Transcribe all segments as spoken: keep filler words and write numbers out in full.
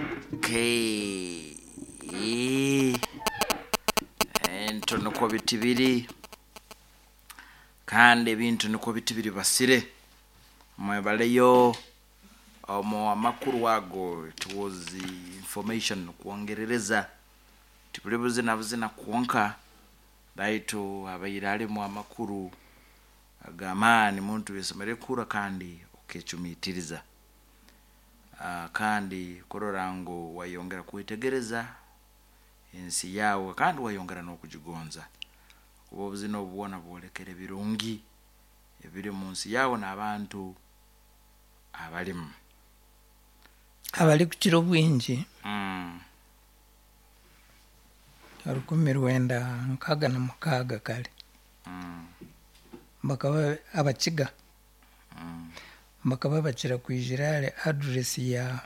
Okay. Ento nikwo biti biri, kandi ebintu nikwo biti biri basire. Mwebaleyo omu amakuru ago. It was information kwongerereza tibuli buzina buzina kwonka, baitu abaire alimu amakuru ag'amaani muntu yesomere kura kandi okecumitiriza. Ah, kandi kurora ngu wayongera kwetegereza ensi yawe kandi wayongera n'okugigonza, kuba obuzina obu bwona bwolekere birungi ebiri mu nsi yawe n'abantu abalimu. Abarikukira obwingi mm. rukumi rwenda nkaaga na mukaaga kare Mm. bakaba Abakiga Mm. bakaba bakira kwijira ahari address ya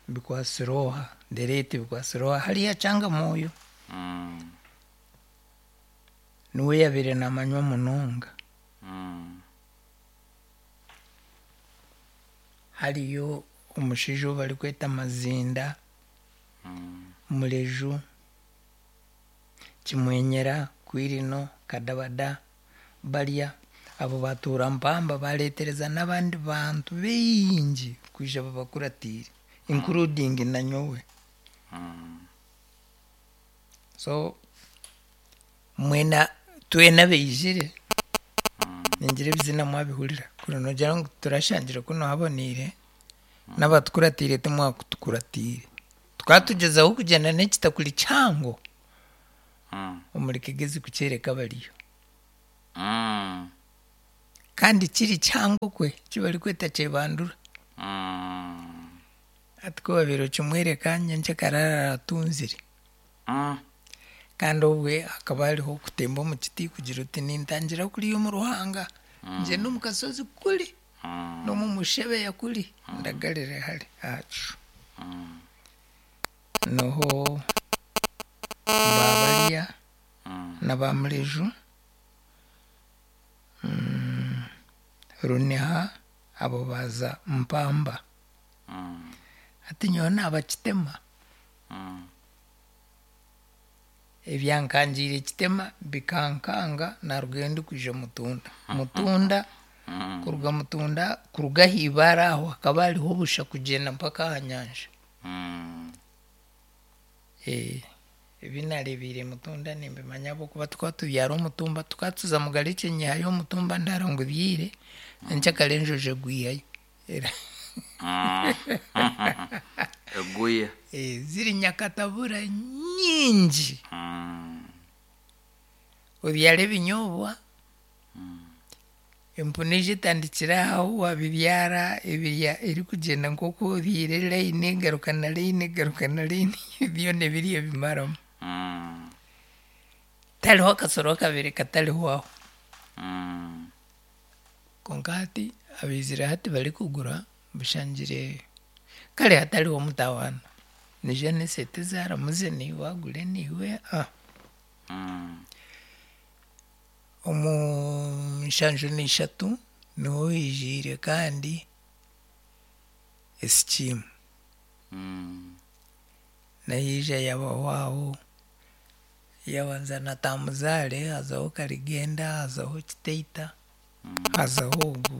Bikwasiroha, the late Bikwasiroha hariya Kyangamwoyo. Mm. Niwe yabaire namanywa munonga. Mm. Hariyo omushaija ou barikweta Mazinda, Mm. Mureju, Kimwenyera, Kwirino, Kadabada, barya abo batuura Mpamba, bareetereza n'abandi bantu baingi kwija babakuratiire, including na nyowe. Mm. So mwena twena baijire, ningira ebizina mwabihurira, kuri nogira ngu turashangire kunu haboniire n'abatukuratiire timwakutukuratiire, tukatugyezaho kugyenda n'ekitakuri kihango Mm. omuri Kigezi kukyereka abariyo. Mm. Kandi kiri kihango kwe kibarikweta kyebandura. Mm. Ati ku wabaire okimwereka nyencekare arara atunzire. Mm. Kandi obwe hakaba hariho okutemba omu kiti kugira oti nintangira kuriya omu ruhanga, ngyende omu kasozi kuri Mm. n'omu mushebeya kuri ndagarire hari aha kishu. Mm. Niho babarya Mm. na ba Mureju, mm, Runiha, abo baza Mpamba. Mm. Ati nyowe naaba Kitema. Mm. Ebyankangiire Kitema bikankanga narugayo ndikwija Mutunda. Mutunda Mm. kuruga Mutunda, kuruga aha ibaare aho hakaba hariho obusha kugyenda mpaka aha nyanja. Mm. Eh, ebi nareebeire Mutunda nimbimanya ahabw'okuba tukaba tubyara omutumba, tukaba tuza Mugarekye nyihayo omutumba ndaara ngu byire, nyenkyakare enjojo egwihayo. Era Mm. Eguye. Eh, ziri nyakatabura nyingi. Mm. Obyara ebinyobwa, empunu eija etandikira aho wabibyara ebirya erikugyenda nk'oku obyire layini egaruka na layini egaruka na layini, byona ebirya ebimaramu. Mm. Tihariho akasoro akabaire katariho aho. Mm. Konka hati abaizire hati barikugura bushangire kare hatariho mutawaana. Noija n'esente ezaramuze niiwe agure niiwe ah. Mm. Omu nshanju n'ishatu niho hijiire kandi esikiimu. Mm. Nayo yaija yabaho aho, yabanza na Tamuzare, hazaho Karigenda, hazaho Kiteita, hazaho ogu